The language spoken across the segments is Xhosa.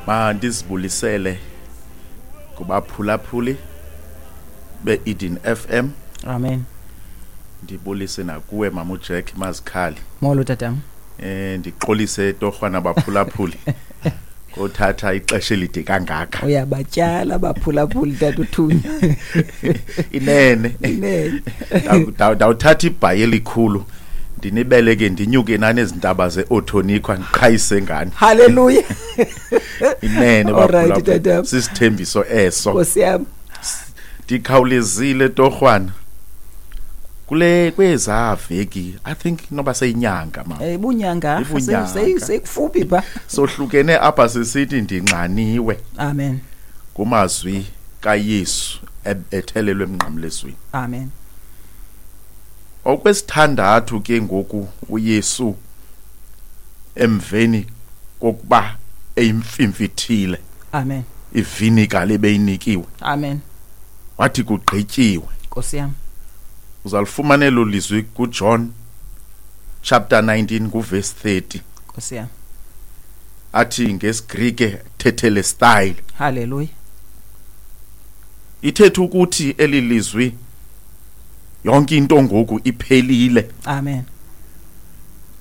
Mandizibulisele kubaphulaphuli be-Eden FM. Amen. Ndibulise nakuwe mama uJack Mazikhali. Molo tatam. Ndixolise torhwana baphulaphuli. Kothatha ixesha elide kangaka. Uyabatyala baphulaphuli tata uThunya. Inene. Inene. Ndawuthatha ibhayi elikhulu. Ndinibeleke ndinyuke nani ezintaba zeOthonikwa ndiqhayise ngani. Hallelujah. Inene Alright, baphulaphuli. tatam. Sisithembiso eso. Nkosi yam. Ndikhawulezile torhwana. Kule kweza veki I think noba seyinyanga ma. Ibunyanga. Ibunyanga. Sekufuphi pha. Sohlukene apha sisithi ndinxaniwe Amen. kumazwi kaYesu ebethelelwe emnqamlezweni. Amen. Okwesithandathu ke ngoku uYesu emveni kokuba eyimfimfithile Amen. ivinika lebeyinikiwe Amen. wathi kugqityiwe. Nkosi yam. Uzalifumana elo lizwi kuJohn chapter 19 kuverse 30. Nkosi yam. Athi ngesiGrike tetelestai. Hallelujah. Ithetha ukuthi eli lizwi yonke into ngoku iphelile. Amen.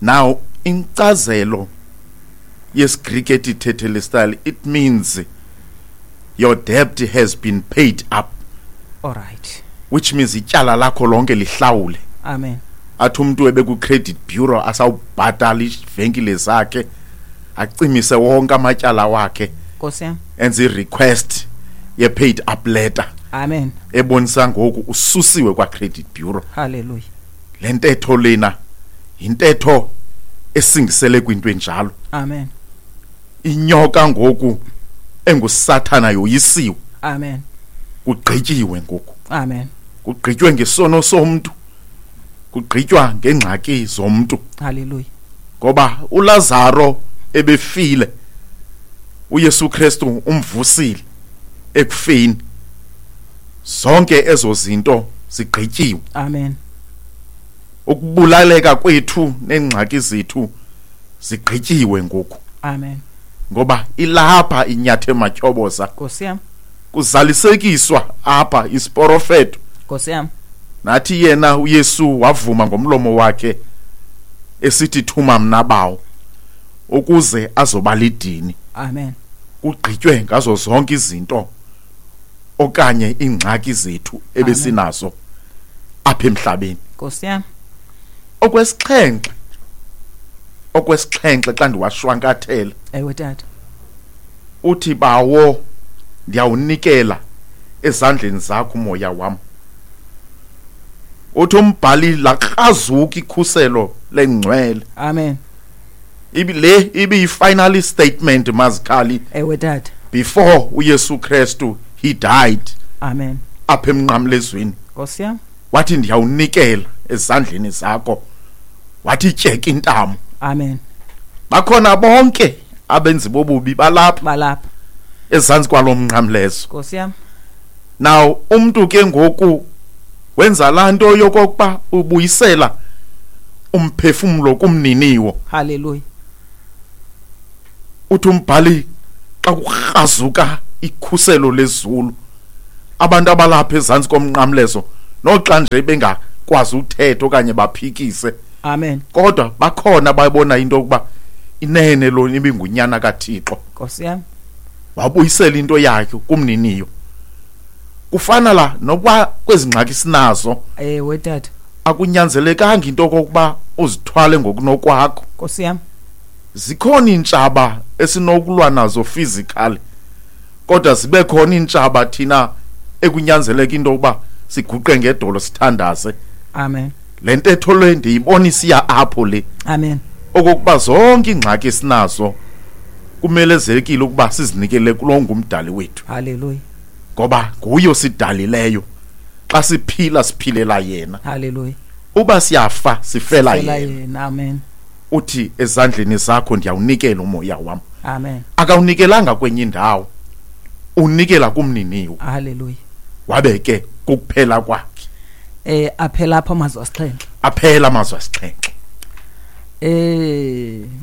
Now inkcazelo yesiGrike ethi tetelestai, it means your debt has been paid up, All right. which means ityala lakho lonke lihlawule. Amen. Athi umuntu ebeku credit bureau asawubhatala ivenkile zakhe, acimise wonke amatyala wakhe, Nkosi yam. enze i-request ye paid up letter. Amen. Ebonisa ngoku ususiwe kwa credit bureau. Hallelujah. Le ntetho lena yintetho esingisele kwinto enjalo. Amen. Inyoka ngoku enguSathana yoyisiwe. Amen. Kugqityiwe ngoku. Amen. Kugqitywe ngesono somntu. Kugqitywa ngengxaki zomntu. Hallelujah. Ngoba uLazaro ebefile, uYesu Kristu umvusile ekufeni. Zonke ezo zinto zigqityiwe. Amen. Ukubulaleka kwethu neengxaki zethu zigqityiwe ngoku. Amen. Ngoba ilapha inyathe matyhoboza. Nkosi yam. Kuzalisekiswa apha isiprofeto. Nkosi yam. Nathi yena uYesu wavuma ngomlomo wakhe esithi thuma mna bawo ukuze azoba lidini. Amen. Kugqitywe ngazo zonke izinto okanye iingxaki zethu ebesinazo apha emhlabeni. Nkosi yam. Okwesixhenxe xa ndiwashwankathela. Ewe tata. Uthi bawo ndiyawunikela ezandleni zakho umoya wam. Uthi umbhali lakrazuka ikhuselo lengcwele. Amen. Le ibi final statement Mazikhali. Ewe tata. Before uYesu Kristu he died. Amen. Apha emnqamlezweni. Nkosi yam. Wathi ndiyawunikela ezandleni zakho. Wathi tyeka intamo. Amen. Bakhona bonke abenzi bobubi balapha. Balapha. Ezantsi kwalomnqamlezo. Nkosi yam. Now umuntu ke ngoku wenza laa nto yokokuba ubuyisela umphefumlo kumniniwo. Hallelujah. Uthi umbhali xa kukrazuka ikhuselo lezulu, abantu abalapha ezantsi komnqamlezo noxa nje bengakwazi uthetha okanye baphikise. Amen. Kodwa bakhona bayibona into yokuba inene lo ibingunyana kaThixo. Nkosi yam. Wabuyisela into yakhe kumniniyo. Kufana la nokuba kwezi ngxaki sinazo. Ewe tata. Akunyanzelekanga into okokuba uzithwale ngokunokwakho. Nkosi yam. Zikhona iintshaba esinokulwa nazo physically, kodwa zibe khona iintshaba thina ekunyanzeleka into yokuba siguqe ngedolo sithandaze. Amen. Le ntetho le ndiyibona isiya apho le. Amen. Okokuba zonke iingxaki esinazo kumelezekile ukuba sizinikele kulo ngumdali wethu. Hallelujah. Ngoba nguye osidalileyo. Xa siphila siphilela yena. Hallelujah. Uba siyafa sifela Sifela yena. yena. Amen. Uthi ezandleni zakho ndiyawunikela umoya wam. Amen. Akawunikelanga kwenye indawo. Unikela kumniniwo. Hallelujah. Wabe ke kukuphela kwakhe. Aphela apha amazwi asixhenxe. Aphela amazwi asixhenxe.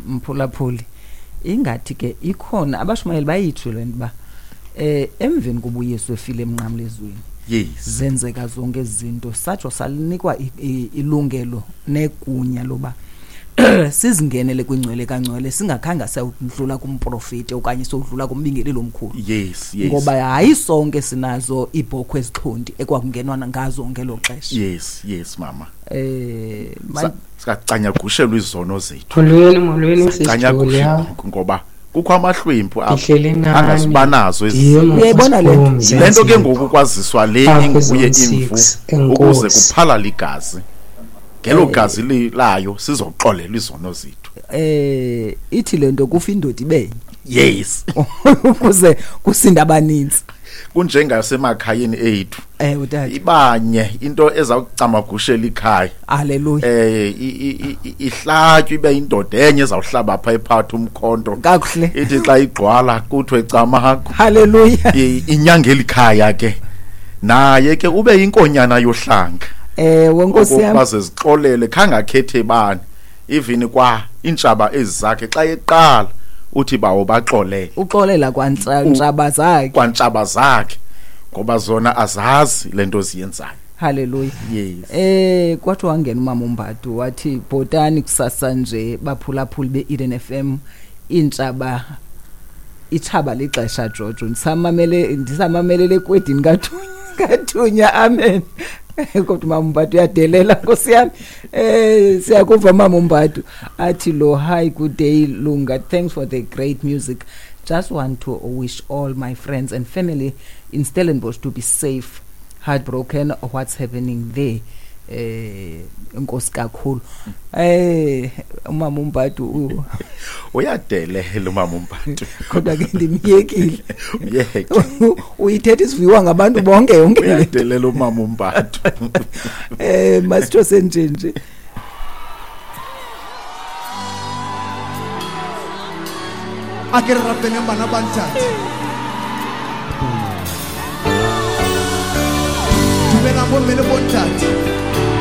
Mphulaphuli. Ingathi ke ikhona abashumayeli bayitsho le nto uba emveni kuba uYesu efile emnqamlezweni, zenzeka zonke ezi zinto, satsho salinikwa ilungelo negunya loba sizingenele kwingcwele kangcwele singakhange sawudlula kumprofeti okanye sowudlula kumbingeleli omkhulu. yes yes Ngoba hayi sonke sinazo iibhokhwe ezixhonti ekwakungenwa ngazo ngelo xesha. Yes, yes mama. Eh Sicanyagushelwa izono zethu. Molweni, molweni sisiJulia. Sicanyagushelwa ngoba kukho amahlwempu apha Ndihleli nani. angazibanazo ezi Ndim zinto. Uyayibona le nto? Le nto ke ngoku kwaziswa le Apha inguye eZone imvu 6, ukuze enkosi. kuphalale igazi. Ngelo gazi layo sizoxolelwa izono zethu. Ithi lento kufa indoda ibenye ukuze kusinda abaninzi. Kunjengasemakhayeni ethu. Ewe tata. Ibanye into ezawucamagushela ikhaya. Haleluya. Ihlatywe ibe indoda enye ezawuhlaba pha ephatha umkhonto. Kakuhle. Ithi xa igqwala kuthiwe camagu. Haleluya. Inyangela ikhaya ke. Naye ke ube inkonyana yohlanga. Ewe nkosi yami. Okokuba zixolele khangakhethe bani. Even kwa intshaba ezakhe xa eqala uthi bawo baxolele. Uxolela kwantshaba zakhe. Kwantshaba zakhe ngoba zona azazi lento ziyenzayo. Haleluya. Yes. Kwathi wangena umama uMbadu wathi bhotani kusasa nje baphulaphuli beEden FM, intshaba itshaba lixesha Jojo, ndisamamelele kwedini kathunya amen. Kodwa umama uMbadu uyadelela nkosi yami. Siyakuva mama uMbadu athi lo hi, good day Lunga, thanks for the great music. Just want to wish all my friends and family in Stellenbosch to be safe. Heartbroken what's happening there. Inkosi kakhulu. Umama uMbadu uyadelela umama uMbadu. Kodwa ke ndimyekile. Uyeke. Uyithetha isiviwa ngabantu bonke yonke le nto. Uyadelela umama uMbadu. Masitho senje nje. A ke re rapeleng bana ba ntate. Dumelang bomme le bontate.